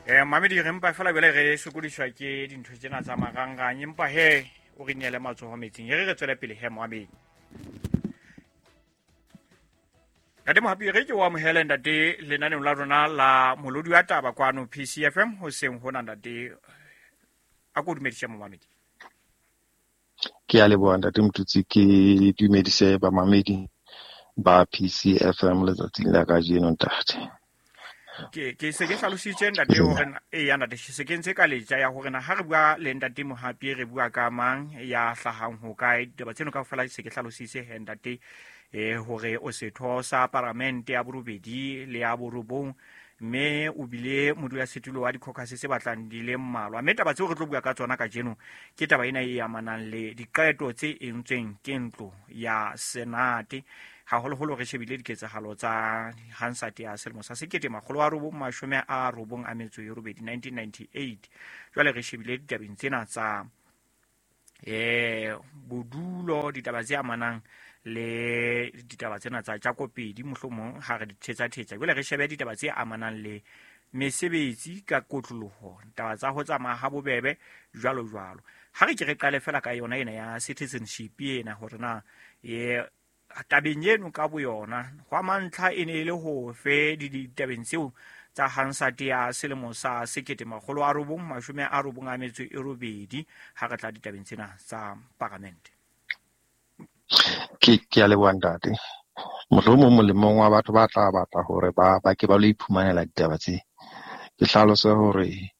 Mamedi re mpa fela bjale re sokodiswa ke dintho tsena tsa marangrang, empa he o re neele matsoho metsing. E re re tswele pele he moamedi. Ntate Mohapi, re ke o amohele ntate lenaneong la rona la molodi wa taba kwano PCFM hoseng hona ntate. A ko dumedise momamedi. Ke a leboha ntate Motutsi, ke dumedise bamamedi ba PCFM letsatsing la kajeno ntate. Ke se ke hlalositse ntate hore eya ntate, se ke ntse ka letja ya hore na ha re bua le ntate Mohapi re bua ka mang ya hlahang ho kae. Ditaba tseno kaofela se ke hlalositse he ntate, hore o setho sa paramente ya borobedi le ya borobong, mme o bile modulasetulo wa dikhokhase tse batlang di le mmalwa. Mme taba tseo re tlo bua ka tsona kajeno ke taba ena e amanang le diqeto tse entsweng ke ntlo ya Senate, haholoholo re shebile diketsahalo tsa Hansard ya selemo sa 1998, 1998. Jwale re shebile ditabeng tsena tsa bodulo, ditaba tse amanang le ditaba tsena tsa Jakopedi, mohlomong ha re di thetsa-thetsa. Jwale re shebe ditaba tse amanang le mesebetsi ka kotloloho, ditaba tsa ho tsamaya ha bobebe, jwalo jwalo. Ha re ke re qale fela ka yona ena ya citizenship ena, hore na tabeng eno ka boyona hwa mantlha e ne e le ho fe ditabeng tseo tsa Hansard ya selemo sa 1998 ha re tla ditabeng tsena tsa paramente. Ke a leboha ntate. Mohlomong molemong wa batho ba tla batla hore ba ke ba lo iphumanela ditaba tse. Ke hlalose hore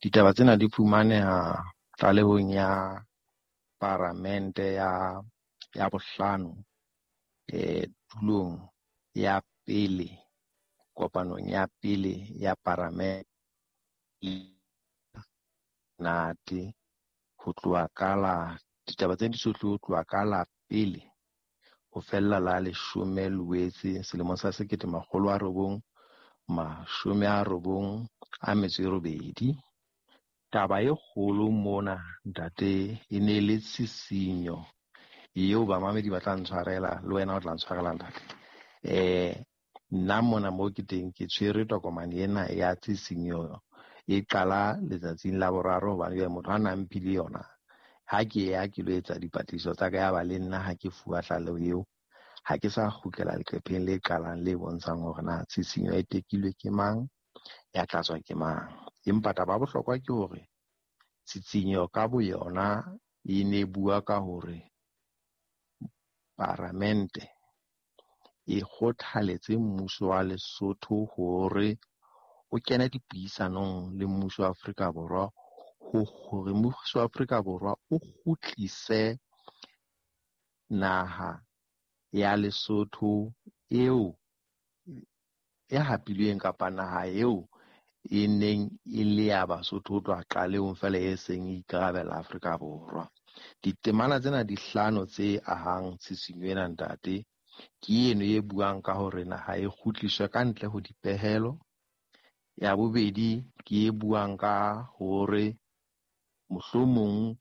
ditaba tsena di fumaneha tlalehong ya paramente ya bohlano, tulong ya pele, kopanong ya pele ya paramente nate, ho tloha ka la ditaba tse di sohle ho tloha ka la pele ho fella la 10 Loetse selemong sa 1998. Taba e kgolo mona ntate e ne le tshisinyo eo bamamedi ba tla ntshwarela, le wena o tla ntshwarela ntate. Nna mona mo ke teng ke tshwere tokomane ena ya tshisinyo e qala letsatsing la boraro, hobane jwale motho a nang mphile yona ha ke ya ke lo etsa dipatlisiso tsa ka, ya ba le nna ha ke fuwa tlaleho eo, ha ke sa kgutlela leqepheng le qalang le bontshang hore na tshisinyo e tekilwe ke mang, ya tlatswa ke mang. Empa taba ya bohlokwa ke hore tshisinyo ka boyona e ne bua ka hore paramente e kgothaletse mmuso wa Lesotho hore o kene dipuisanong le mmuso wa Afrika Borwa, hore mmuso wa Afrika Borwa o kgutlise naha ya Lesotho eo e hapilweng kapa naha eo e neng e le ya Basotho ho tloha qalehong fela e seng e ikarabella Afrika Borwa. Ditemana tsena di hlano tse ahang tshisinyo ena ntate, ke eno e buang ka hore naha e kgutliswe ka ntle ho dipehelo. Ya bobedi ke e buang ka hore mohlomong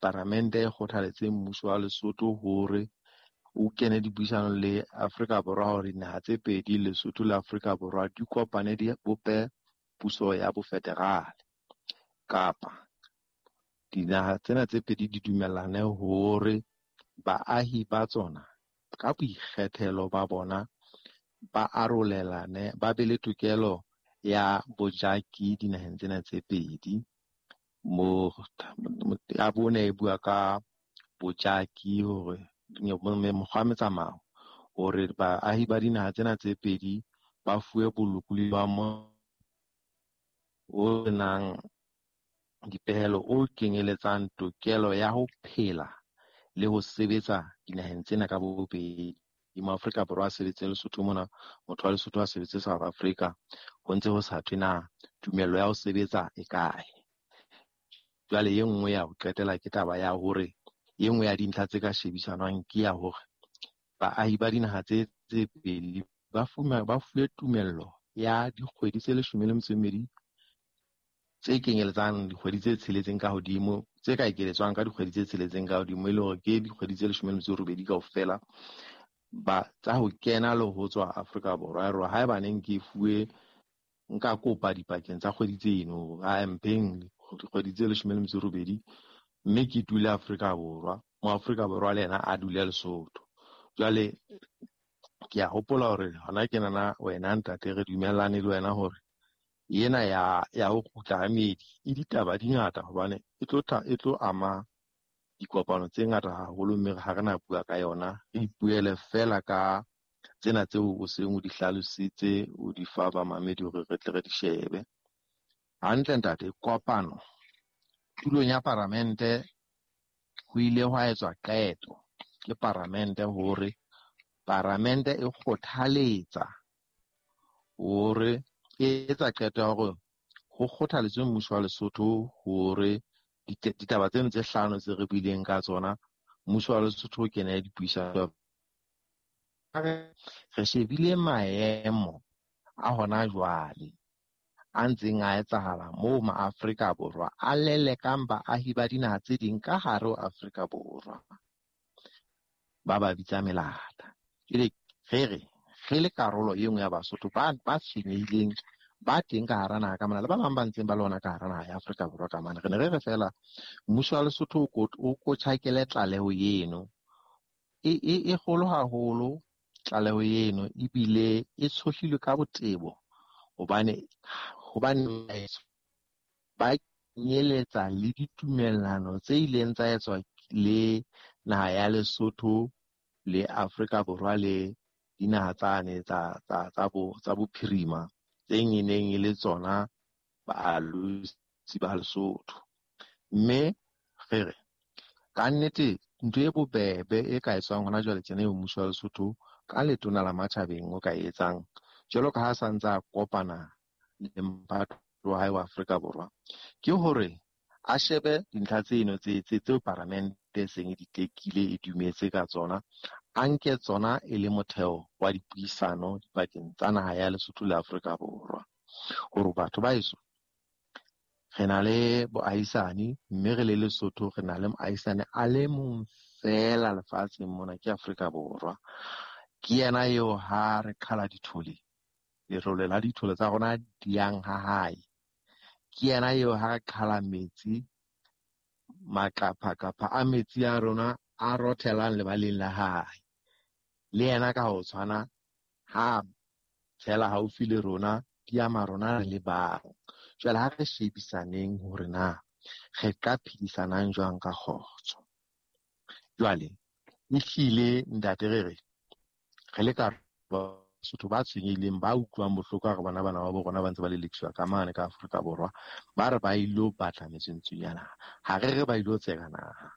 paramente e kgothaletse mmuso wa Lesotho hore o kene dipuisanong le Afrika Borwa hore dinaha tse pedi, Lesotho le Afrika Borwa, di kopane di bope puso ya bofederale, kapa dinaha tsena tse pedi di dumellane hore baahi ba tsona ka boikgethelo ba bona ba arolelane, ba be le tokelo ya bojaki dinaheng tsena tse pedi. Mo ya bone e bua ka bojaki hore mokgwa wa metsamao hore baahi ba dinaha tsena tse pedi ba fuwe bolokolohi ba mo o nang dipehelo o kenyeletsang tokelo ya ho phela le ho sebetsa dinaheng tsena ka bobedi. Mo Afrika Borwa a sebetse Lesotho mona, motho wa Lesotho a sebetse South Africa, ho ntse ho sa thwe na tumello ya ho sebetsa e kae. Jwale e nngwe ya ho qetela ke taba ya hore e nngwe ya dintlha tse ka shebisanwang ke ya hore baahi ba dinaha tse pedi ba fuwe tumello ya dikgwedi tse 12 tse kenyeletsang dikgwedi tse tsheletseng ka hodimo, tse ka ekeletswang ka dikgwedi tse tsheletseng ka hodimo, e le hore ke dikgwedi tse 18 kaofela ba tsa ho kena le ho tswa Afrika Borwa. Ya rona haeba neng ke fuwe Nka kopa dipakeng tsa kgwedi tseno, a mpeng dikgwedi tse 18, mme ke dule Afrika Borwa. Mo Afrika Borwa le yena a dule Lesotho. Jwale ke a hopola hore hona ke nana wena ntate re dumellane le wena hore ena ya ho kgutla ha meedi e ditaba di ngata, hobane e tlo ama dikopano tse ngata haholo, mme ha re na bua ka yona, re ipuele fela ka tsena tseo o seng o di hlalositse, o di fa bamamedi hore re tle re di shebe. Hantle ntate, kopano tulong ya paramente ho ile hwa etswa qeto ke paramente hore paramente e kgothaletsa hore e etsa qeto ya hore ho kgothaletswe mmuso wa Lesotho hore ditaba tseno tse hlano tse re buileng ka tsona, mmuso wa Lesotho o kene dipuisano. Re shebile maemo a hona jwale a ntseng a etsahala moo maAfrika Borwa a lelekang baahi ba dinaha tse ding ka hare ho Afrika Borwa, ba bitsa melata. Jwale re re le karolo e nngwe ya Basotho ba tshwenyehileng ba teng ka hara naha ka mona, le ba bang ba ntseng ba le hona ka hara naha ya Afrika Borwa ka mane. Re ne re re fela mmuso wa Lesotho o ko tjhakele tlaleho eno e kgolo haholo, tlaleho eno ebile e tshohlilwe ka botebo, hobane ba kenyeletsa le ditumellano tse ileng tsa etswa le naha ya Lesotho le Afrika Borwa le dinaha tsane tsa bophirima tse neng e le tsona baalosi ba Lesotho. Mme re re ka nnete ntho e bobebe e ka etswang hona jwale tjena eo mmuso wa Lesotho ka letona la matjhabeng o ka e etsang, jwalo ka ha sa ntse a kopana le mphato wa hae wa Afrika Borwa, ke hore a shebe dintlha tseno tseo paramente e seng e di tekile, e dumetse ka tsona, a nke tsona e le motheo wa dipuisano dipakeng tsa naha ya Lesotho le Afrika Borwa. Hore batho ba heso re na le boahisani, mme re le Lesotho re na le moahisani a le mong fela lefatsheng mona, ke Afrika Borwa. Ke yena eo ha re qhala dithole, lerole la dithole tsa rona di yang ha hae. Ke yena eo ha re qhala metsi, maqaphaqapha a metsi a rona a rothelang lebaleng la hae. Le yena ka ho tshwana ha tshela haufi le rona, di ama rona re le bang. Jwale ha re shebisaneng hore na re ka phedisanang jwang ka kgotso. Jwale ehlile ntate re re re le ka Basotho ba tshwenyehileng, ba utlwang bohloko ha re bona bana ba bo rona ba ntse ba lelekiswa ka mane ka Afrika Borwa, ba re ba ilo batla metswentsu ya naha. Ha re re ba ilo tseka naha.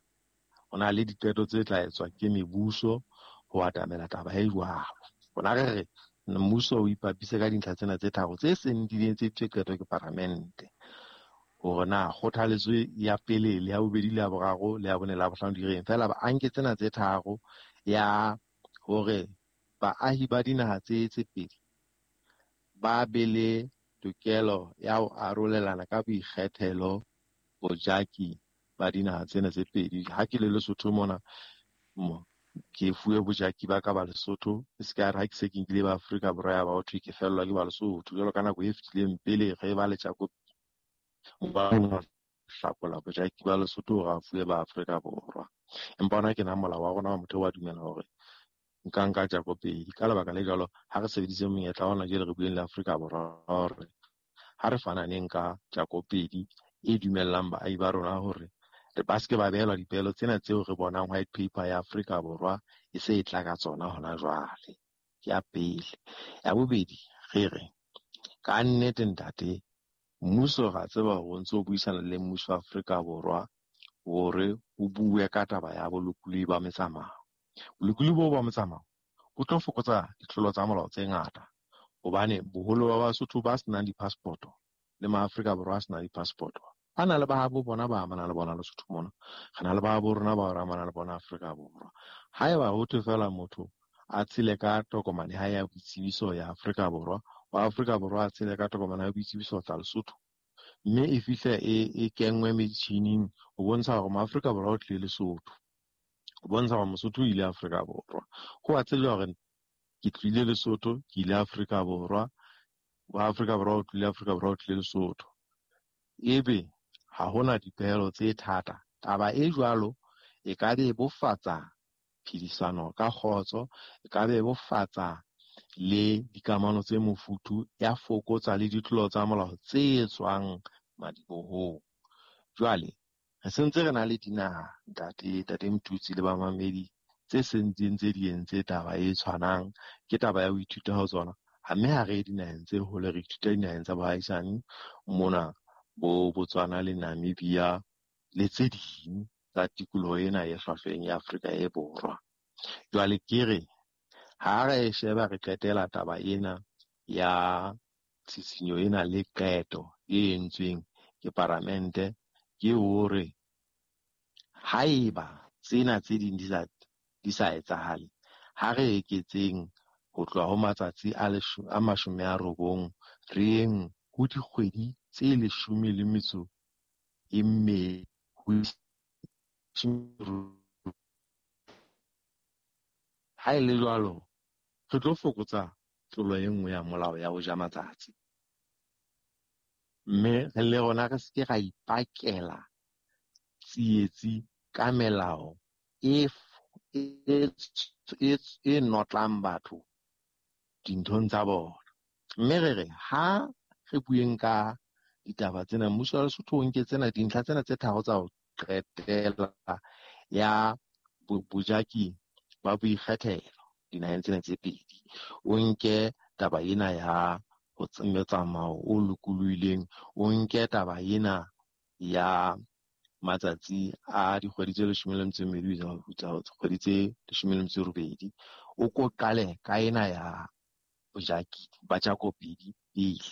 Ho na le diqeto tse tla etswa ke mebuso ho atamela taba e jwalo. Rona re re mmuso o ipapise ka dintlha tsena tse tharo tse seng di entse qeto ke paramente, hore na kgothaletso ya pele le ya bobedi le ya boraro le ya bone le ya bohlano di reng. Feela ba anke tsena tse tharo ya hore baahi ba dinaha tse pedi ba be le tokelo ya ho arolelana ka boikgethelo bojaki ba dinaha tsena tse pedi. Ha ke le Lesotho mona, ke fuwe bojaki ba ka ba Lesotho, e se ka re ha ke se ke nkile ba Afrika Borwa ya ba ho thwe ke fellwa ke ba Lesotho. Jwalo ka nako e fetileng pele re ba le tjako, ba hlakola bojaki ba Lesotho hore a fuwe ba Afrika Borwa. Empa hona ke na molao wa rona wa motheo wa dumela hore nka nka tjako pedi. Ka lebaka le jwalo, ha re sebedise monyetla wa hona jwale re bueng le Afrika Borwa hore ha re fananeng ka tjako pedi e dumellang baahi ba rona hore ba se ke ba behelwa dipehelo tsena tseo re bonang white paper ya Afrika Borwa e se e tla ka tsona hona jwale. Ke ya pele. Ya bobedi, re re ka nnete ntate, mmuso ra tseba hore o ntse o buisana le mmuso wa Afrika Borwa hore o bue ka taba ya bolokolohi ba metsamao. Bolokolohi bo ba metsamao bo tlo fokotsa ditlolo tsa molao tse ngata, hobane boholo ba Basotho ba senang di-passport-o le maAfrika Borwa a senang di-passport-o ba na le ba habo bona ba amanang le bona Lesotho mona, re na le ba habo rona ba re amanang le bona Afrika Borwa. Haeba ho thwe fela motho a tshele ka tokomane ha ya boitsebiso ya Afrika Borwa, wa Afrika Borwa a tshele ka tokomane ya boitsebiso tsa Lesotho, mme e fihle e kenngwe metjhining ho bontsha hore maAfrika Borwa o tlile Lesotho, ho bontsha hore Mosotho o ile Afrika Borwa. Ho a tsejwa hore ke tlile Lesotho, ke ile Afrika Borwa, wa Afrika Borwa o tlile Afrika Borwa o tlile Lesotho, ebe ha hona dipehelo tse thata. Taba e jwalo e ka bebofatsa phedisano ka kgotso, e ka bebofatsa le dikamano tse mofuthu, ya fokotsa le ditlolo tsa molao tse tswang madibohong. Jwale re sentse re na le dinaha, ntate Mthutsi le bamamedi, tse sentseng tse di entse taba e tshwanang. Ke taba ya ho ithuta ho tsona. Mme ha re ye dinaheng tse hole, re ithuta dinaheng tsa boahisani mona, bo Botswana le Namibia le tse ding tsa tikoloho ena e hlwahlweng ya Afrika e Borwa. Jwale ke re ha re sheba re qetela taba ena ya tshisinyo ena le qeto e entsweng ke paramente, ke hore haeba tsena tse ding di sa etsahale, ha re eketseng ho tloha ho matsatsi a 90 re yeng ho dikgwedi tse 12. Ha e le jwalo, re tlo fokotsa tlolo e nngwe ya molao ya ho ja matsatsi. Mme re le rona re se ke ra ipakela tsietsi ka melao e notlang batho dinthong tsa bona. Mme re re ha re bueng ka ditaba tsena, mmuso wa Lesotho o nke tsena dintlha tsena tse tharo tsa ho qetela ya bojaki ba boikgethelo dinaheng tsena tse pedi. O nke taba ena ya ho motsamao o lokolohileng, o nke taba ena ya matsatsi a dikgwedi tse 12 kgwedi tse 18, o ko qale ka ena ya bojaki ba jakopedi pele,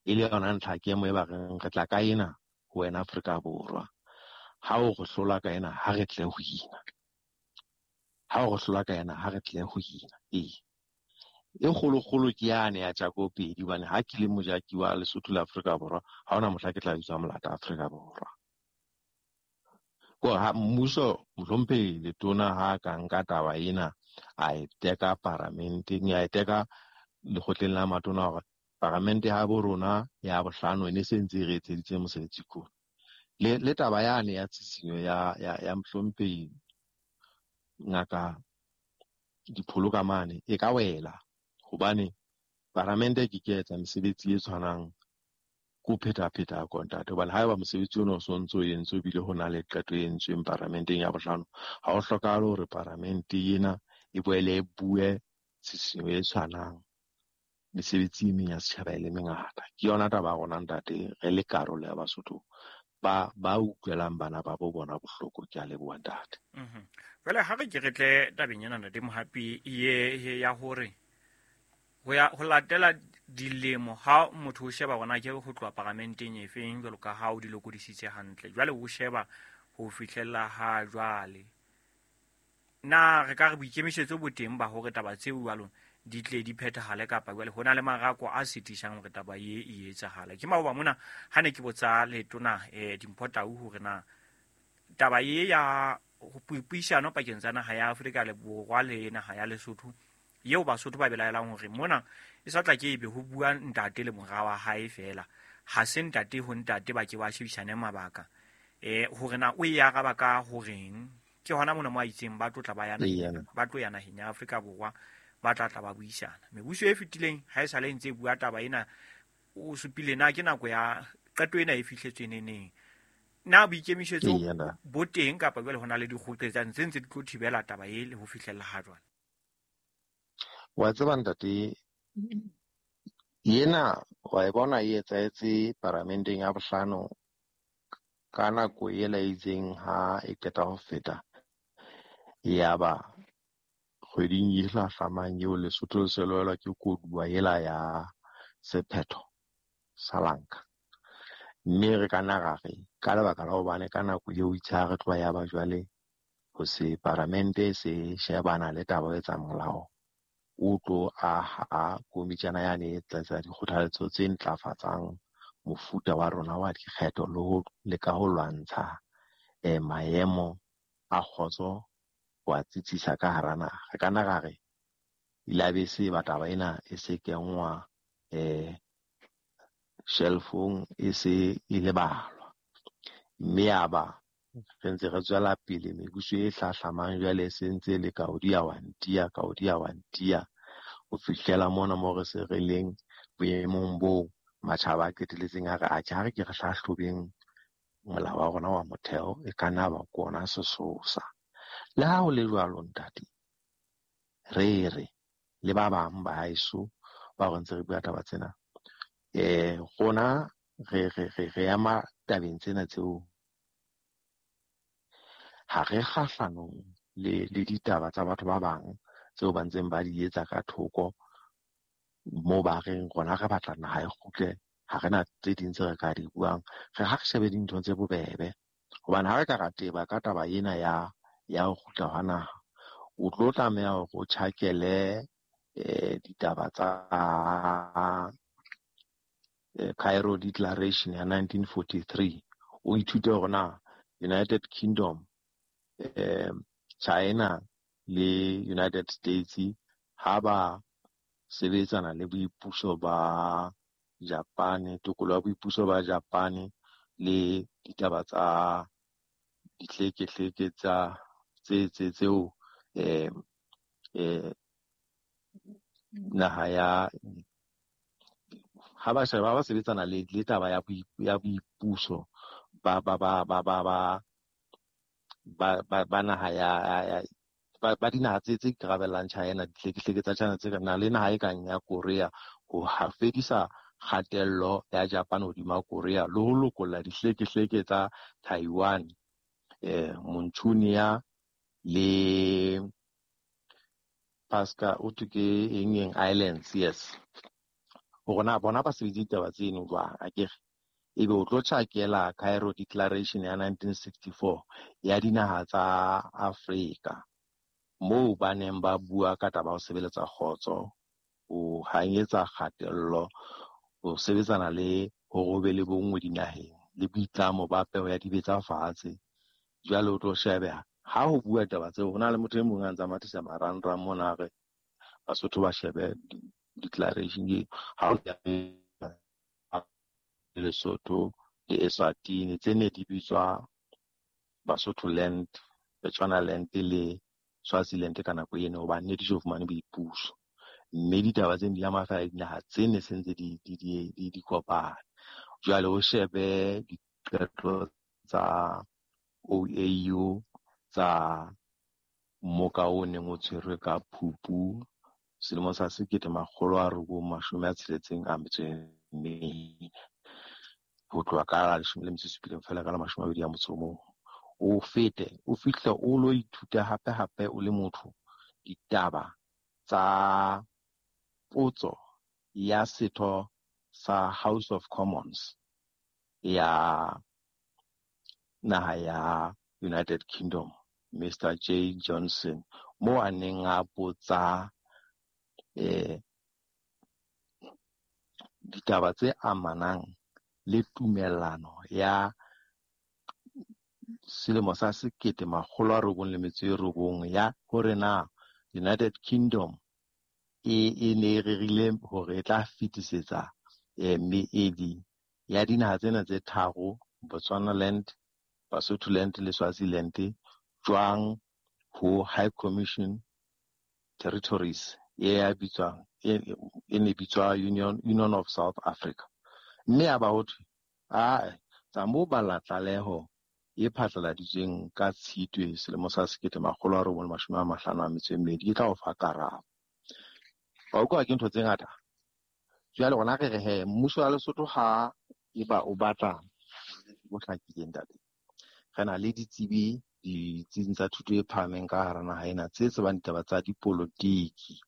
e le yona ntlha kemo e ba reng re tla ka ena ho wena Afrika Borwa. Ha o re hlola ka ena, ha re tle ho ina. Ha o re hlola ka ena, ha re tle ho ina. Ee, e kgolokgolo ke yane ya jakopedi, hobane ha ke le mojaki wa Lesotho le Afrika Borwa, ha hona mohla ke tla bitswa molata Afrika Borwa. Ko ha mmuso mohlomphehi letona ha ka nka taba ena a e teka paramenteng, a e teka lekgotleng la matona hore paramente ya bo rona ya bohlano e ne se ntse e re etseditse mosebetsi kona. Le taba yane ya tshisinyo ya mohlomphehi Ngaka Dipholo ka mane e ka wela, hobane paramente ke ke etsa mesebetsi e tshwanang ko phetapheta kontate, hobane haeba mosebetsi ona o sontso o entswe ebile ho na le qeto e entsweng paramenteng ya bohlano, ha ho hlokahale hore paramente ena e boele e bue tshisinyo e tshwanang. Mesebetsi e meng ya setjhaba e le mengata. Ke yona taba ya rona ntate, re le karolo ya Basotho ba utlwelang bana ba bo bona bohloko. Ke a leboha ntate. Jwale ha re ke re tle tabeng ena ntate Mohapi ye ya hore ho ya ho latela dilemo ha motho o sheba hona ke ho tloha paramenteng e feng jwalo ka ha o di lokodisitse hantle, jwale o sheba ho fihlella ha jwale, na re ka re boikemisetso bo teng ba hore taba tseo jwalo di tle di phethahale, kapa jwale ho na le marako a sitisang hore taba ye e etsahale? Ke maoba mona ha ne ke botsa letona Dimpho Tau hore na taba ye ya puisano pakeng tsa naha ya Afrika le Borwa le naha ya Lesotho yeo Basotho ba belaelang hore mona e sa tla ke ebe ho bua ntate le mora wa hae fela, ha se ntate ho ntate ba ke ba shebisane mabaka, hore na o e araba ka horeng. Ke hona mona mo a itseng ba tlotla ba yana ba tlo ya naheng ya Afrika Borwa ba tla tla ba buisana. Mebuso e fetileng ha e sale ntse e bua taba ena, o supile na ke nako ya qeto ena e fihletswe neneng, na boikemisetso bo teng kapa jwale ho na le dikgoqetsang tse ntse di tlo thibela taba e le ho fihlella ha jwale? Wa tseba ntate, yena wa e bona e etsahetse paramenteng ya bohlano ka nako ela e itseng ha e qeta ho feta, yaba kgweding e hlahlamang eo Lesotho le se lwelwa ke koduwa ela ya sephetho sa Lanka. Mme re ka nna ra re ka lebaka la hobane ka nako eo itse ha re tloha ya ba jwale ho se paramente se shebana le taba e tsa molao o tlo aha komitjana yane e tlatsa dikgothaletso tse ntlafatsang mofuta wa rona wa dikgetho le ho leka ho lwantsha maemo a kgotso wa tsitsisa ka hara naha. Re ka nna ra re ilabe se ba taba ena e se kenngwa shelfong e se e lebalwa. Mme yaba re ntse re tswela pele mebuso e hlahlamang jwale e se ntse le kaodi ya wantia, kaodi ya wantia ho fihlela mona mo re se re leng boemong bo matjhaba a qeteletseng a re atjhe ha re ke re hlahlobeng molao wa rona wa motheo e ka nna ba ke ona sesosa. Le ha ho le jwalo ntate, re re le ba bang ba haeso ba re ntse re bua taba tsena, rona re ema tabeng tsena tseo ha re kgahlanong le ditaba tsa batho ba bang tseo ba ntseng ba di etsa ka thoko moo ba reng rona re batla naha e kgutle, ha re na tse ding tse re ka di buang. Re ha re shebe dintho tse bobebe, hobane ha re ka ra teba ka taba ena ya ho kgutla hwa naha, o tlo tlameha hore o tjhakele ditaba tsa Cairo Declaration ya 1943, o ithute hore na United Kingdom, China le United States ha ba sebetsana le boipuso ba Japan, tokolo ya boipuso ba Japan le ditaba tsa dihlekehleke tsa tse tseo naha ya ha ba sheba ba sebetsana le taba ya boipuso ba naha ya ba dinaha tse ikarabellang China, dihlekehleke tsa China tse na le naha e kang ya Korea, ho fedisa kgatello ya Japan hodima Korea le ho lokolla dihlekehleke tsa Taiwan, Manchuria le Pasca o thwe ke eng Islands, yes. Hore na bona ba sebedisa ditaba tseno jwang, akere ebe o tlo tjhakela Cairo Declaration ya 1964 ya dinaha tsa Afrika moo ba neng ba bua ka taba ya ho sebeletsa kgotso, ho hanyetsa kgatello, ho sebetsana le hore ho be le bonngwe dinaheng le boitlamo ba peo ya dibetsa fatshe. Jwale o tlo shebe ha ho bua taba tseo, ho na le motho e mong a ntsa mathisa marangrang mona a re Basotho ba shebe declaration e ha o ya Lesotho le Eswatini tse ne di bitswa Basotho Land, Bechuanaland le Swaziland ka nako eno, hobane ne di so fumane boipuso. Mme ditaba tseno di ama fela dinaha tse ne se ntse di kopana. Jwale o shebe diqeto tsa OAU tsa mmoka o neng o tshwerwe ka Phupu selemo sa 1964 ho tloha ka la 17 fela ka la 21. O fete o fihle o lo ithuta hape hape o le motho ditaba tsa potso ya setho sa House of Commons ya naha ya United Kingdom, Mr. J. Johnson, mo a neng a botsa ditaba tse amanang le tumellano ya selemo sa 1999 ya hore na United Kingdom e ne e rerile hore e tla fetisetsa meedi ya dinaha tsena tse tharo, Botswanaland, Basotholand le Swaziland, jwang ho High Commission Territories e ya bitswang e ne bitswa Union of South Africa. Mme a ba ho thwe tsa mo bala tlaleho e phatlaladitsweng ka Tshitwe selemo sa 1952 e tla o fa karabo. Wa utlwa ke ntho tse ngata. Jwale rona re re he mmuso wa Lesotho ha eba o batla bo hlakileng ntate, re na le ditsebi ditsing tsa thuto e phahameng ka hara naha ena tse tsebang ditaba tsa dipolotiki,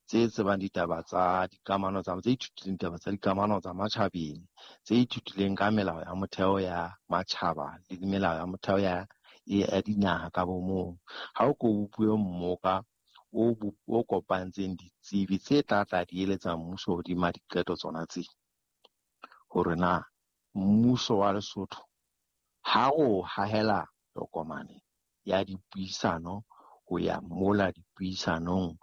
tse tsebang ditaba tsa dikamano tsa, tse ithutileng ditaba tsa dikamano tsa matjhabeng, tse ithutileng ka melao ya motheo ya matjhaba le melao ya motheo ya dinaha ka bomong. Ha o ko bopue mmoka o kopantseng ditsebi tse tla tla di eletsa mmuso hodima diqeto tsona tse, hore na mmuso wa Lesotho ha o hahela tokomane ya dipuisano ho ya mola dipuisanong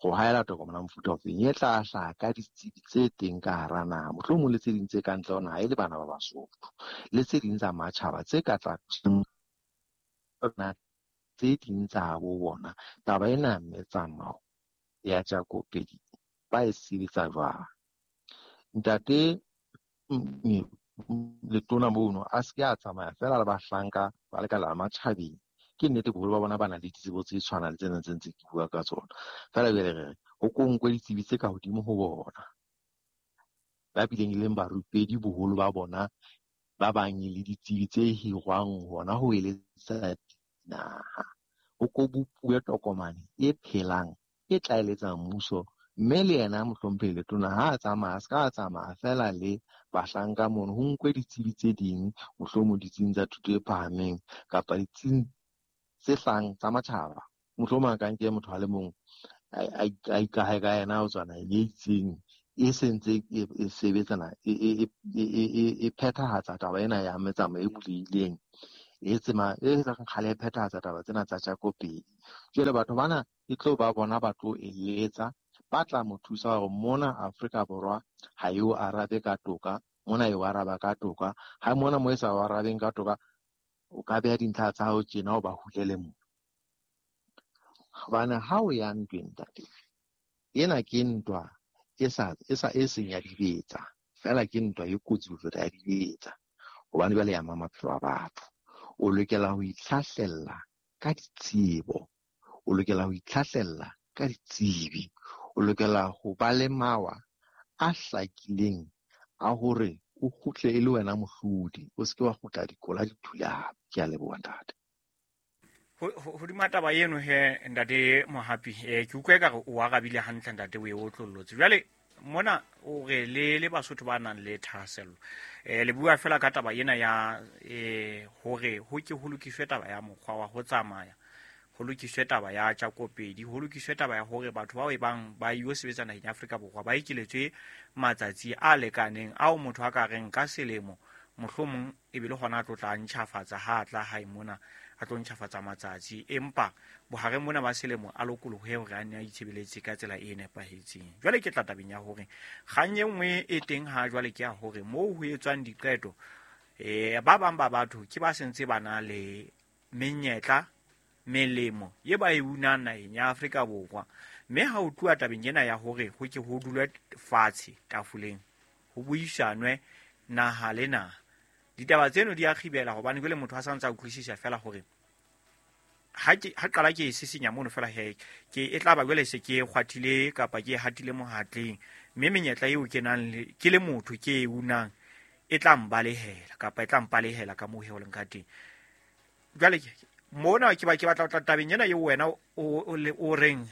Go haela tokomane ya mofuta ofeng e tla hlaha ka ditsebi tse teng ka hara naha, mohlomong le tse ding tse ka ntle ho naha e le bana ba Basotho, le tse ding tsa matjhaba tse ka tla tse ding tsa bo bona. Taba ena metsamao ya tjakopedi ba e sebetsa jwang? Ntate letona mono a se ke a tsamaya fela le bahlanka ba lekala la matjhabeng. Ke nnete boholo ba bona ba na le ditsebo tse tshwanang le tsena tse ntse ke bua ka tsona. Feela jwale re re ho ko nkwe ditsebi tse ka hodimo ho bona, ba bileng e leng barupedi boholo ba bona, ba bang e le ditsebi tse hirwang hona ho eletsa dinaha. Ho ko bopuwe tokomane e phelang e tla eletsang mmuso, mme le yena mohlomphehi letona ha a tsamaya, a se ka tsamaya fela le bahlanka mono, ho nkwe ditsebi tse ding, mohlomong ditsing tsa thuto e phahameng kapa ditsing tse hlahang tsa matjhaba. Mohlomong a ka nke motho a le mong a ikahe ka yena ho tswa naheng e itseng e sentse e sebetsana e phethahatsa taba ena ya metsamao e bulehileng, e tsema e reng kgale e phethahatsa taba tsena tsa tjakopedi. Jwale batho bana e tlo ba bona ba tlo eletsa, ba tla mo thusa hore mona Afrika Borwa ha e o arabe ka toka, mona e o araba ka toka, ha mona mo e sa o arabeng ka toka o ka beha dintlha tsa hao tjena o ba hulele mona. Hobane ha o ya ntweng ntate, ena ke ntwa e sa e seng ya dibetsa, fela ke ntwa e kotsi ho feta ya dibetsa, hobane jwale ya ama maphelo a batho. O lokela ho itlhahlella ka ditsebo, o lokela ho itlhahlella ka ditsebi, o lokela ho ba le mawa a hlakileng a hore o kgutle e le wena mohlodi, o se ke wa kgutla dikola di thulame. Ke a leboha ntate. Hodima taba eno he ntate Mohapi, ke utlwa ekare o arabile hantle ntate, o e otlollotse. Jwale mona o re le Basotho ba nang le thahasello, le bua fela ka taba ena ya hore ho ke ho lokiswe taba ya mokgwa wa ho tsamaya, ho lokiswe taba ya tjakopedi, ho lokiswe taba ya hore batho bao e bang ba yo sebetsa naheng ya Afrika Borwa ba ekeletswe matsatsi a lekaneng ao motho a ka reng ka selemo mohlomong e be le hona a tlo tla ntjhafatsa ha a tla hae mona, a tlo ntjhafatsa matsatsi, empa bohareng mona ba selemo a lokolohe hore a nne a itshebeletse ka tsela e nepahetseng. Jwale ke tla tabeng ya hore kgang e nngwe e teng ha jwale ke ya hore moo ho etswang diqeto, ba bang ba batho ke ba sentse ba na le menyetla, melemo ye ba e unang naheng ya Afrika Borwa, mme ha ho tluwa tabeng ena ya hore ho ke ho dulwe fatshe tafoleng ho buisanwe naha le naha, ditaba tseno di a kgibela, hobane jwale motho a santse a utlwisisa fela hore ha qala ke e sisinya mono fela he, ke e tla ba jwale se ke kgwathile kapa ke e hatile mohatleng, mme menyetla eo ke nang le, ke le motho ke e unang e tla mbalehela kapa e tla mpalehela ka moo he ho leng ka teng. Jwale mona ke ba ke batla ho tla tabeng ena eo wena o reng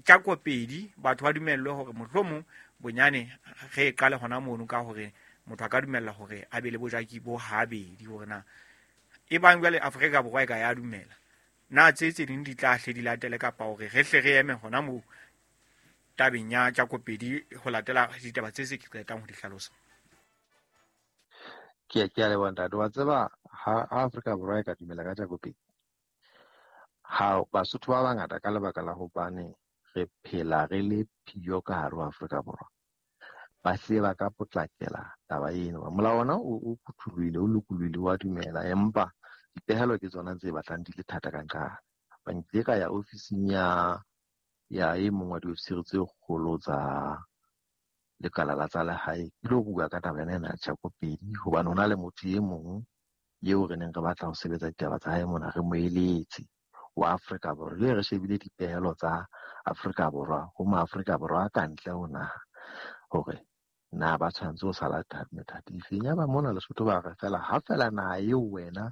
tjakopedi, batho ba dumellwe hore mohlomong bonyane re e qale hona mono ka hore motho a ka dumella hore a be le bojaki bo habedi, hore na e bang jwale Afrika Borwa e ka ya dumela na tse tse ding di tla hle di latele, kapa hore re hle re eme hona moo tabeng ya tjakopedi ho latela ditaba tse se ke qetang ho di hlalosa. Ke a leboha ntate. Wa tseba ha Afrika Borwa e ka dumela ka tjakopedi, ha Basotho ba bangata ka lebaka la hobane re phela re le phiyo ka hare ho Afrika Borwa, ba hlile ba ka potlakela taba eno. Molao ona o phuthulohile, o lokolohile, wa dumela, empa dipehelo ke tsona tse batlang di le thata ka nqane. Ba nkile ka ya ofising ya e mong wa diofisiri tse kgolo tsa lekala la tsa lehae, ke lo bua ka taba ena ya tjakopedi, hobane ho na le motho e mong eo re neng re batla ho sebetsa ditaba tsa hae mona, re mo eletse wa Afrika Borwa. Jwale re shebile dipehelo tsa Afrika Borwa ho ma Afrika Borwa a ka ntle ho naha hore na ba tshwanetse ho sala methati efeng. Ya ba mona Lesotho ba re fela ha fela naha eo wena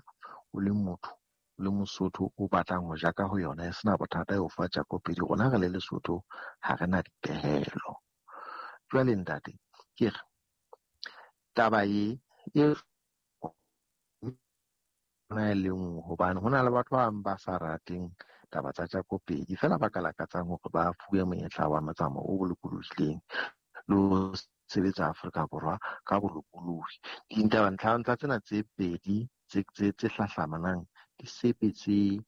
o le motho, o le Mosotho o batlang ho jaka ho yona e sena bothata e o fa tjakopedi, rona re le Lesotho ha re na dipehelo. Jwale ntate, ke re taba e e na e le nngwe, hobane ho na le batho ba bang ba sa rateng taba tsa tjakopedi, fela ba ka lakatsang hore ba fuwe monyetla wa motsamao o lokolohileng le ho sebetsa Afrika Borwa ka bolokolohi. Dintaba ntlha tsena tse pedi tse hlahlamanang di sebetse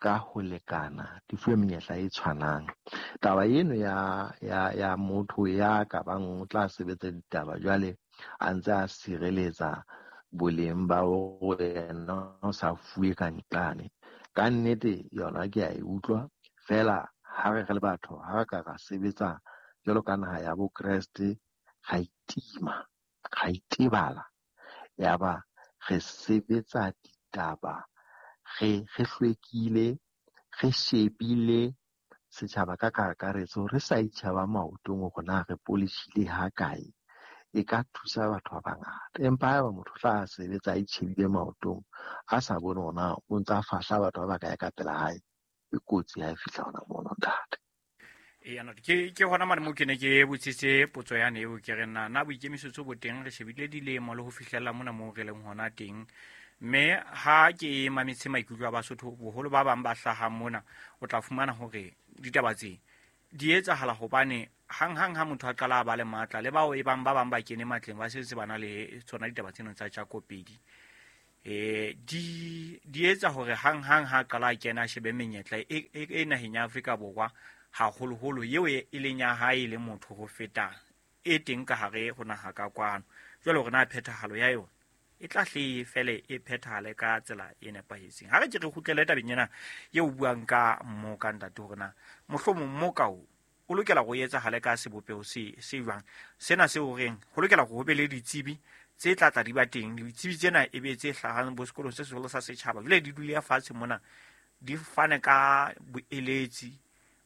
ka ho lekana, di fuwe menyetla e tshwanang. Taba eno ya motho ya ka bang o tla sebetsa ditaba jwale a ntse a sireletsa boleng ba hore yena o sa fuwe ka nqane. Ka nnete yona ke a e utlwa fela, ha re re le batho, ha re ka ra sebetsa jwalo ka naha ya bo Kreste, ra itima, ra itebala, yaba re sebetsa ditaba re hlwekile, re shebile setjhaba ka kakaretso, re sa itjhaba maotong hore na re polishile ha kae, e ka thusa batho ba bangata. Empa haeba motho tla sebetsa a itjhebile maotong, a sa bone hore na o ntsa fahla batho ba bakae ka pela hae, e kotsi ha e fihla hona mono, ntate. Eya, ke hona mane moo ke ne ke botsitse potso yane eo, ke re na boikemisetso bo teng, re shebile dilemo le ho fihlella mona moo re leng hona teng. Mme ha ke mametse maikutlo a Basotho, boholo ba bang ba hlahang mona, o tla fumana hore ditaba tse di etsahala hobane hang-hang ha motho a qala a ba le matla, le bao e bang ba bang ba kene matleng ba setse ba na le tsona ditaba tseno tsa tjakopedi. Di etsa hore hang-hang ha qala a kena a shebe menyetla e naheng ya Afrika Borwa haholoholo eo e leng ya hae le motho ho feta e teng ka hare ho naha ka kwano. Jwale hore na phethahalo ya yona e tla hle fele e phethahale ka tsela e nepahetseng. Ha re ke re kgutlele tabeng ena eo o buang ka mmoka, ntate, hore na mohlomong mmoka o lokela ho etsahale ka sebopeho se jwang. Sena se o reng ho lokela hore ho be le ditsebi tse tla tla di ba teng, ditsebi tsena e be tse hlahang bo sekolong se seholo sa setjhaba, jwale di dule fatshe mona di fane ka boeletsi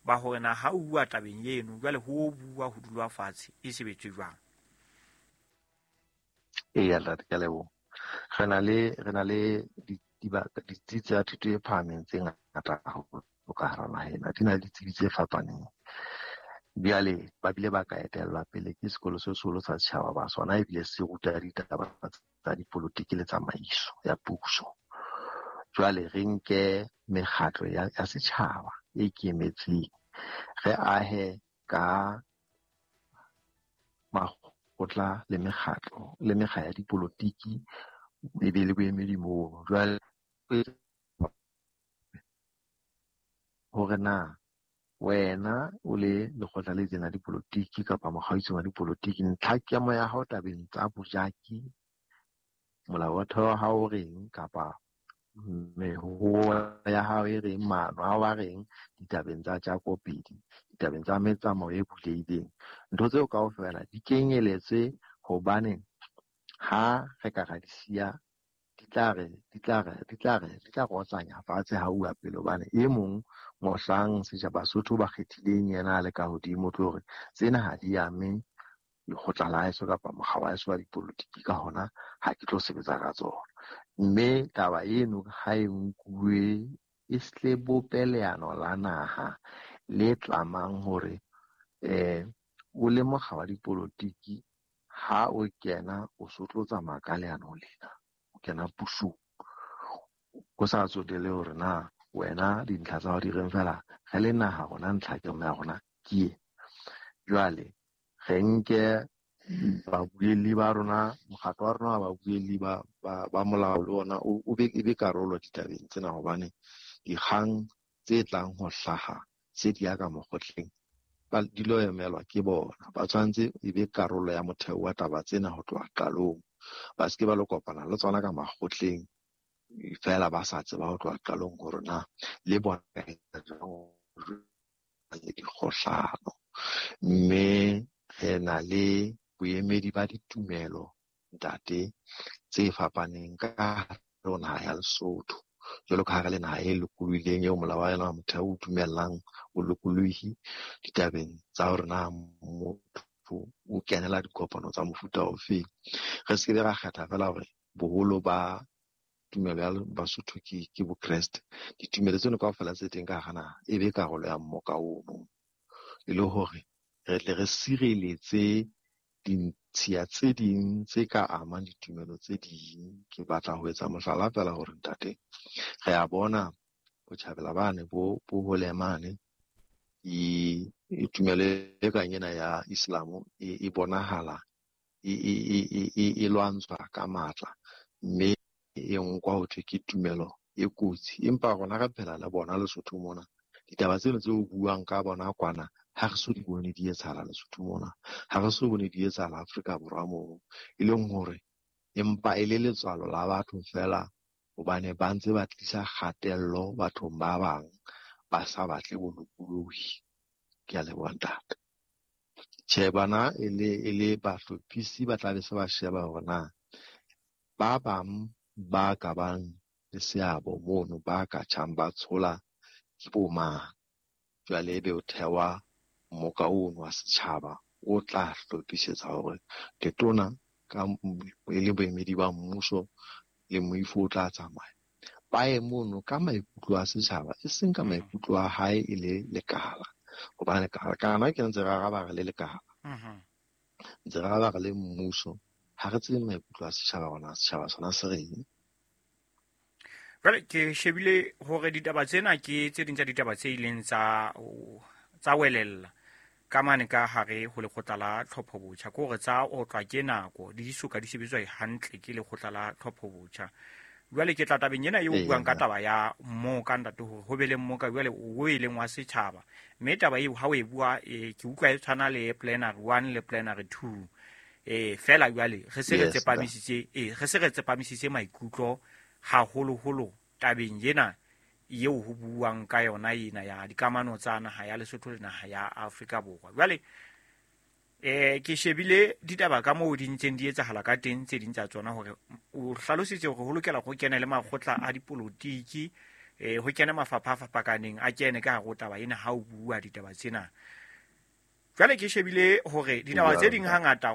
ba hore na ha o bua tabeng eno jwale ho bua ho dulwa fatshe e sebetswe jwang. Eya, ntate, ke a leboha. Re na le ditsi tsa thuto e phahameng tse ngata haholo ka hara naha ena, di na le ditsebi tse fapaneng. Bjale ba bile ba ka etellwa pele ke sekolo se seholo sa setjhaba ba sona, ebile se ruta ditaba tsa dipolotiki le tsamaiso ya puso. Jwale re nke mekgatlo ya setjhaba e ikemetseng, re ahe ka makgotla le mekgatlo le mekga ya dipolotiki e be le boemedi moo. Jwale hore na wena o le lekgotla le itseng la dipolotiki kapa mokga o itseng wa dipolotiki, ntlha kemo ya hao tabeng tsa bojaki, molao wa theo wa hao o reng, kapa mehoho ya hao e reng, maano a hao a reng ditabeng tsa tjakopedi, ditabeng tsa metsamao e bulehileng. Ntho tseo kaofela di kenyeletse, hobane ha re ka ra di siya, di tla re otlanya fatshe ha uwa pele, hobane e mong mohlang setjhaba Basotho ba kgethileng yena a le ka hodimo, tlo hore tsena ha di ame lekgotla la heso kapa mokga wa heso wa dipolotiki, ka hona ha ke tlo sebetsa ka tsona. Mme taba eno ha e nkuwe e hle bope leano la naha le tlamang hore o le mokga wa dipolotiki ha o kena o so tlo tsamaya ka leano lena, o kena pusong, ho sa tsotelle hore na wena dintlha tsa hao di reng, fela re le naha rona ntlha ke ya rona ke e. Jwale re nke babuelli ba rona, mokgatlo wa rona wa babuelli ba molao le ona o be e be karolo ditabeng tsena, hobane dikgang tse tlang ho hlaha tse di ya ka mokgotleng di lo emelwa ke bona. Ba tshwanetse e be karolo ya motheo wa taba tsena ho tloha qalong, ba se ke ba lo kopana le tsona ka makgotleng fela ba sa tseba ho tloha qalong hore na le bona dikgohlano. Mme re na le boemedi ba ditumelo, ntate, tse fapaneng ka hare ho naha ya Lesotho. Jwalo ka ha re le naha e lokolohileng eo molao wa yona wa motheo o dumellang bolokolohi ditabeng tsa hore na motho o kenela dikopano tsa mofuta ofeng. Re se ke be ra kgetha fela hore boholo ba tumelo ya Basotho ke Bokreste. Ditumelo tseno kaofela tse teng ka hara naha e be karolo ya mmoka ono, e le hore re tle re sireletse dintshiya tse ding tse ka amang ditumelo tse ding. Ke batla ho etsa mohlala fela hore ntate, re a bona botjhabela bane bo hole mane, e tumelo e kang ena ya Islam e bonahala e lwantshwa ka matla, mme e nkwa ho thwe ke tumelo e kotsi. Empa rona re phela le bona Lesotho mona. Ditaba tseno tse o buang ka bona kwana ha re so di bone di etsahala Lesotho mona, ha re so bone di etsahala Afrika Borwa moo, e leng hore empa e le letswalo la batho fela, hobane ba ntse ba tlisa kgatello bathong ba bang ba sa batle bolokolohi. Ke a leboha ntate. Tjhe, bana e le bahlophisi ba tla be se ba sheba hore na ba bang ba ka bang le seabo mono ba ka tjhang ba tshola ke bo mang. Jwale ebe o thewa mmoka ono wa setjhaba o tla hlophisetsa hore letona ka e le boemedi ba mmuso le moifo o tla tsamaya ba ye mono ka maikutlo a setjhaba, e seng ka maikutlo a hae e le lekala. Hobane kana ke ntse re araba re le lekala, ntse re araba re le mmuso, ha re tsebe maikutlo a setjhaba rona, setjhaba sona se reng. Jwale ke shebile hore ditaba tsena ke tse ding tsa ditaba tse ileng tsa welella ka mane ka hare ho lekgotla la tlhopho botjha, ke hore tsa otlwa ke nako di soka di sebetswa hantle ke lekgotla la tlhopho botjha. Jwale ke tla tabeng ena eo buang ka taba ya mmoka ntate, hore ho be le mmoka jwale o e leng wa setjhaba, mme taba eo ha o e bua ke utlwa e tshwana le plenary 1 le plenary 2. Fela jwale re se re tsepamisitse re se re tsepamisitse maikutlo haholoholo tabeng ena eo ho buang ka yona ena ya dikamano tsa naha ya Lesotho le naha ya Afrika Borwa. Jwale ke shebile ditaba ka moo di ntseng di etsahala ka teng, tse ding tsa tsona hore o hlalositse hore ho lokela ho kene le makgotla a dipolotiki, ho kene mafapha a fapakaneng a kene ka hare ho taba ena ha o bua ditaba tsena. Jwale ke shebile hore ditaba tse ding hangata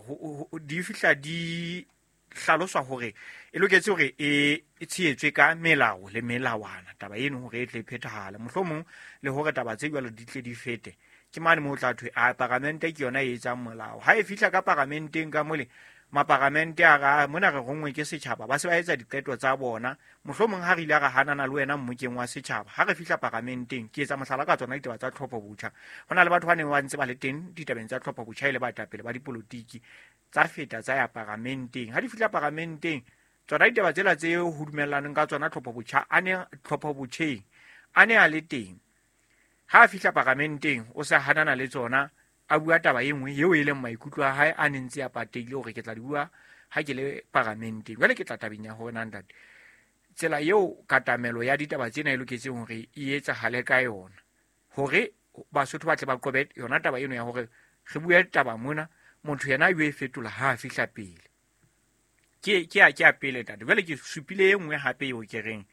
di fihla di hlaloswa hore e loketse hore e tshehetswe ka melao le melawana taba eno hore e tle e phethahale, mohlomong le hore taba tse jwalo di tle di fete. Ke mane moo tla thwe a paramente ke yona e etsang molao. Ha e fihla ka paramenteng ka mole, maparamente a ra mona re rongwe ke setjhaba, ba se ba etsa diqeto tsa bona. Mohlomong ha re ile ra hanana le wena mmokeng wa setjhaba, ha re fihla paramenteng, ke etsa mohlala ka tsona ditaba tsa tlhopho botjha. Ho na le batho ba neng ba ntse ba le teng ditabeng tsa tlhopho botjha e le baetapele ba dipolotiki, tsa feta tsa ya paramenteng. Ha di fihla paramenteng, tsona ditaba tsela tse ho dumellaneng ka tsona tlhopho botjha a ne tlhopho botjheng a ne a le teng. Ha a fihla paramenteng o sa hanana le tsona, a bua taba e nngwe eo e leng maikutlo a hae a ne ntse a pateile hore ke tla di bua ha ke le paramenteng. Jwale ke tla tabeng ya hore na ntate, tsela eo katamelo ya ditaba tsena e loketseng hore e etsahale ka yona, hore Basotho ba tle ba qobe yona taba eno ya hore re bue taba mona, motho yena a yo e fetola ha a fihla pele. Ke a pele ntate. Jwale ke supile e nngwe hape eo ke reng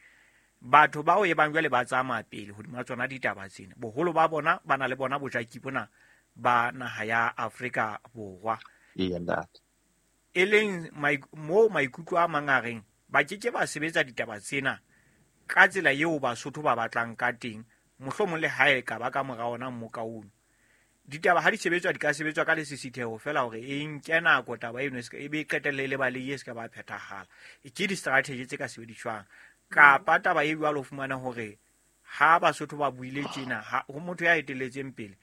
batho bao e bang jwale ba tsamaya pele hodima tsona ditaba tsena, boholo ba bona ba na le bona bojaki bona ba naha ya Afrika Borwa. E leng moo maikutlo a mang a reng ba ke ke ba sebetsa ditaba tsena ka tsela eo Basotho ba batlang ka teng, mohlomong le hae ka ba ka mora ona mmoka ono. Ditaba ha di sebetswa di ka sebetswa ka lesisitheho fela hore e nke nako taba eno e be qetelle e le balehe e se ka ba phethahala. Ke di-strategy tse ka sebediswang. Kapa taba e jwalo fumana hore ha Basotho ba buile tjena, ho motho ya etelletseng pele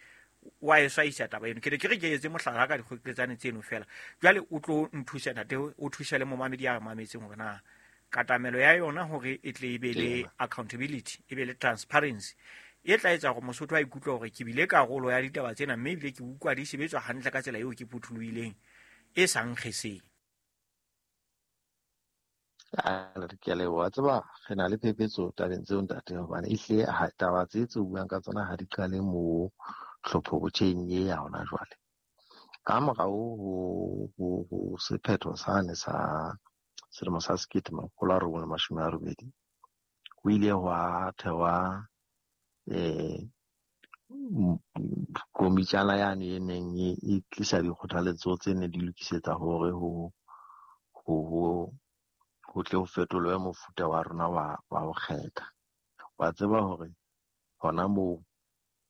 wa e swaisa taba eno. Ke ne ke re ke etse mohlala ka dikgoketsane tseno fela. Jwale o tlo nthusa ntate, o thuse le momamedi ya mametseng hore na katamelo ya yona hore e tle e be le accountability, e be le transparency, e tla etsa hore Mosotho a ikutlwe hore ke bile karolo ya ditaba tsena, mme ebile ke utlwa di sebetswa hantle ka tsela eo ke phuthulohileng e sa nkgeseng. Ke a leboha. Tseba re na le phephetso tabeng tseo ntate, hobane ehlile taba tse tse buang ka tsona ha di qale moo tlhopho botjheng e ya hona jwale. Ka morao ho sephetho sane sa selemo sa 1980, ho ile hwa thewa komitjana yane e neng e tlisa dikgothaletso tse ne di lokisetsa hore ho tle ho fetolwe mofuta wa rona wa ho kgetha. Wa tseba hore hona moo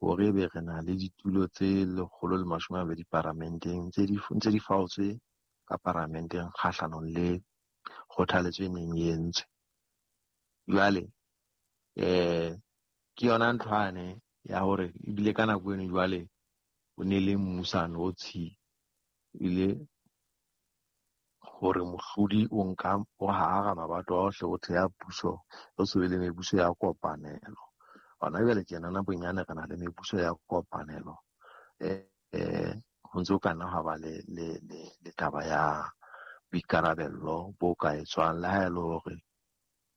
hore ebe re na le ditulo tse 120 paramenteng tse di faotswe ka paramenteng kgahlanong le kgothaletso e neng e entswe. Jwale ke yona nthwane ya hore ebile ka nako eno jwale o ne le mmusano o tshi ile Hore mohlodi o nka o hara mabato a ohle o theha puso, o se be le mebuso ya kopanelo. Hona jwale tjena na bonyane re na le mebuso ya kopanelo. Ho ntse ho ka nna hwa ba le taba ya boikarabello bo ka etswang, le ha e le hore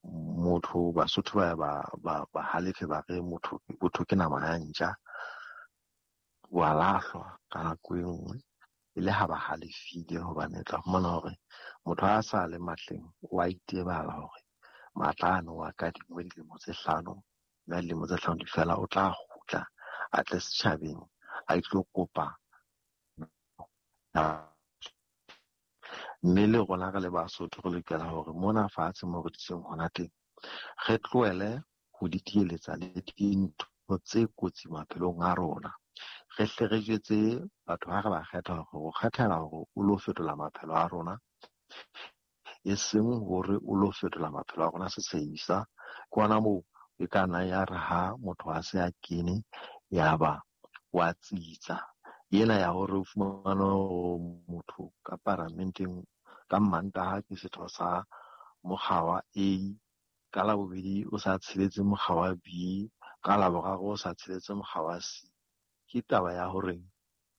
motho Basotho ba halefe ba re motho botho ke nama ya ntja, wa lahlwa ka nako e nngwe e le ha ba halefile, hobane tla fumana hore motho ha sa le matleng o a itebala hore matla ano a kadingwe dilemo tse 5, mme dilemo tse 5 di fela o tla kgutla a tle setjhabeng a itlo kopa. Mme le rona re le Basotho re lokela hore mona fatshe mo re dutseng hona teng re tlohele ho ditieletsa le dintho tse kotsi maphelong a rona. Re hle re jwetse batho ha re ba kgetha hore o kgethela hore o lo fetola maphelo a rona, e seng hore o lo fetola maphelo a rona sesehisa. Ke hona moo e ka nna ya re ha motho a se a kene ya ba wa tsitsa. Ena ya hore o fumane hore motho ka paramenteng ka Mantaha ke setho sa mokga wa A, ka Labobedi o sa tsheletse mokga wa B, ka Laboraro o sa tsheletse mokga wa C. Ke taba ya hore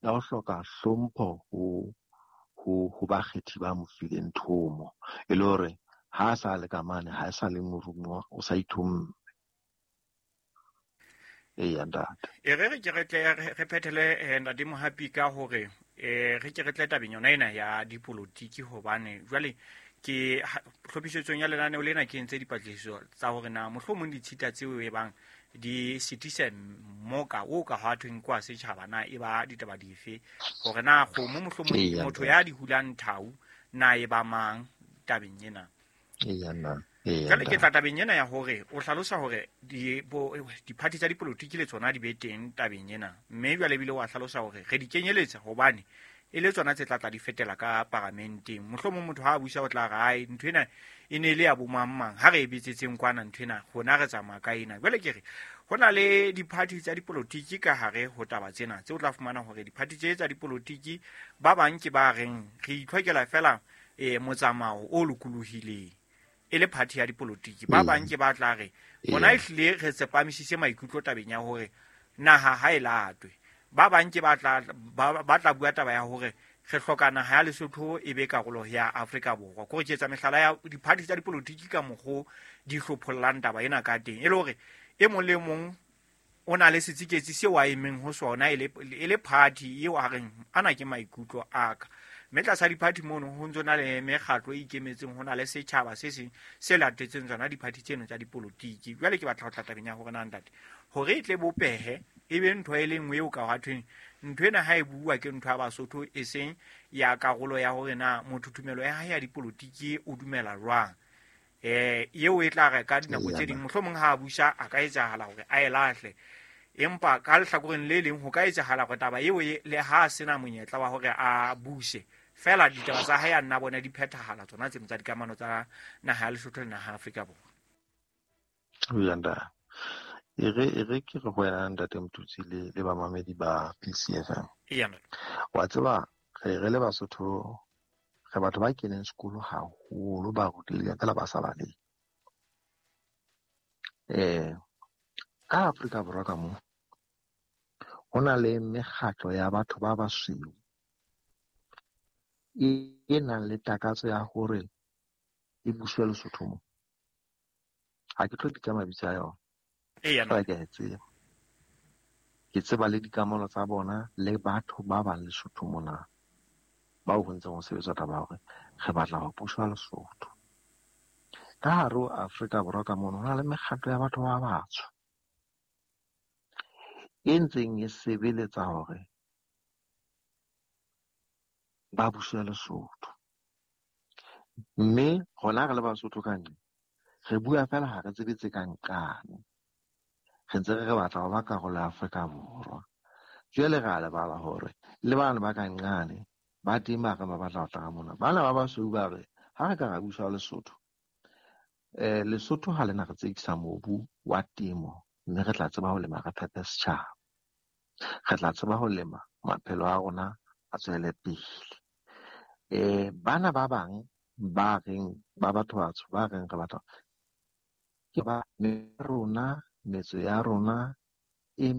ya ho hloka hlompho ho bakgethi ba mo fileng thomo, e le hore ha a sa le ka mane, ha e sa le morumuwa, o sa ithomme. Eya, ntate. E re ke re tle re phethele ntate Mohapi ka hore re ke re tle tabeng yona ena ya dipolotiki, hobane jwale ke hlophisetsong ya lenaneo lena ke entse dipatlisiso tsa hore na mohlomong ditshita tseo e bang di sitise moka o ka hwa thweng kwa setjhaba na e ba ditaba dife, hore na kgomo mohlomong motho ya di hulang thau na e ba mang tabeng ena. Eya, nna. Jwale ke tla tabeng ena ya hore o hlalosa hore diphathi tsa dipolotiki le tsona di be teng tabeng ena, mme jwale ebile wa hlalosa hore re di kenyeletsa hobane e le tsona tse tla tla di fetela ka paramenteng. Mohlomong motho ha a busa o tla re ai ntho ena e ne le ya bo mang mang, ha re e bitsetseng kwana ntho ena rona re tsamaya ka ena. Jwale ke re ho na le diphathi tsa dipolotiki ka hare ho taba tsena tse o tla fumana hore diphathi tse tsa dipolotiki ba bang ke ba reng re itlhokela fela motsamao o lokolohileng e le party ya dipolotiki, ba bang ke ba tla re rona ehlile re tsepamisitse maikutlo tabeng ya hore naha ha e latwe, ba bang ke ba tla bua taba ya hore re hloka naha ya Lesotho e be karolo ya Afrika Borwa. Kore ke etsa mehlala ya diphathi tsa dipolotiki ka mokgo di hlophollang taba ena ka teng, e le hore e mong le mong o na le setsiketsi seo a emeng ho sona e le party eo a reng ana ke maikutlo a ka. Mme tlasa diphathi mono ho ntso na le mekgatlo e ikemetseng, ho na le setjhaba se seng se latetseng tsona diphathi tseno tsa dipolotiki. Jwale ke batla ho tla tabeng ya hore na ntate hore e tle bopehe e be ntho e le nngwe eo ka hwa thweng ntho ena ha e bua ke ntho ya Basotho e seng ya karolo ya hore na motho tumelo ya hae ya dipolotiki o dumela jwang. Eo e tla re ka dinako tse ding mohlomong ha a busa a ka etsahala hore a e lahle, empa ka lehlakoreng le leng ho ka etsahala hore taba eo le ha a sena monyetla wa hore a buse fela ditaba tsa hae a nna bona di phethahala tsona tseno tsa dikamano tsa naha ya Lesotho le naha ya Afrika Borwa. Uyanda. E re ke re ho wena ntate Motutsi le bamamedi ba PCFM. Eya. Wa tseba re le Basotho re batho ba keneng sekolo haholo, ba rutileng fela ba sa baleng. Ka Afrika Borwa ka mo ho na le mekgatlo ya batho ba basweu e nang le takatso ya hore e buswe Lesotho mo. Ha ke tlo bitsa mabitso a yona. Eya. Ke a e tseba. Ke tseba le dikamano tsa bona le batho ba bang Lesotho mona bao ho ntseng ho sebetswa taba ya hore re batla ho buswa Lesotho. Ka hare ho Afrika Borwa ka mono ho na le mekgatlo ya batho ba batsho e ntseng e sebeletsa hore ba buswe Lesotho. Mme rona re le Basotho ka ntle re bua fela ha re tsebe tse ka nqane. Re ntse re batla ho ba karolo ya Afrika Borwa. Jwale re a lebala hore le bana ba ka nqane ba teng ba re ba batla ho tla ka mona. Bana ba basweu ba re ha re ka ra buswa Lesotho, Lesotho ha lena re tsekisa mobu wa temo, mme re tla tseba ho lema re phepe setjhaba. Re tla tseba ho lema maphelo a rona a tswele pele. Bana ba bang ba reng ba batho batsho ba reng re batho ke ba rona, metso ya rona e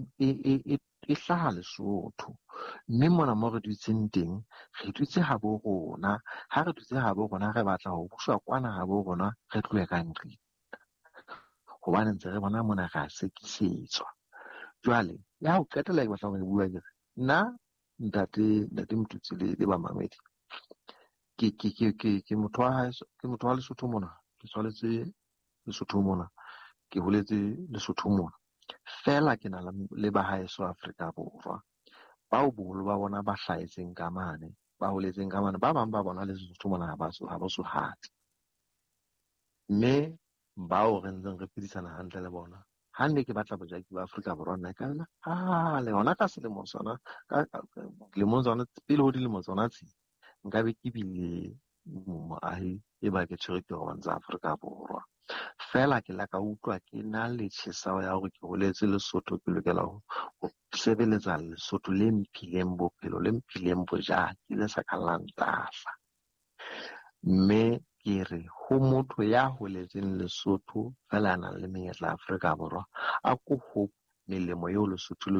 hlaha Lesotho. Mme mona mo re dutseng teng, re dutse habo rona. Ha re dutse habo rona, re batla ho buswa kwana habo rona, re tlohe ka nqeng. Hobane ntse re bona mona re a sekisetswa. Jwale, ya ho qetela ke batlang ho e bua ke re, nna ntate Motutsi le bamamedi, ke motho wa haeso, ke motho wa Lesotho mona, ke tswaletswe Lesotho mona, ke holetse Lesotho mona. Feela ke na le ba haeso Afrika Borwa, bao boholo ba bona ba hlahetseng ka mane, ba holetseng ka mane, ba bang ba bona le Lesotho mona ha ba so hate. Mme bao re ntseng re phedisana hantle le bona, ha ne ke batla bojaki ba Afrika Borwa nna ka nna le hona ka selemo sona, ka dilemong tsona, pele ho dilemo tsona tse, nka be ke bile moahi e ba ke tshwere ditokomane tsa Afrika Borwa. Feela ke la ka utlwa ke na le tjheseho ya hore ke holetse Lesotho, ke lokela ho sebeletsa Lesotho le mphileng bophelo, le mphileng bojaki, le sa ka la ntahla. Mme ke re ho motho ya holetseng Lesotho feela a nang le menyetla Afrika Borwa, a ko hope melemo eo Lesotho le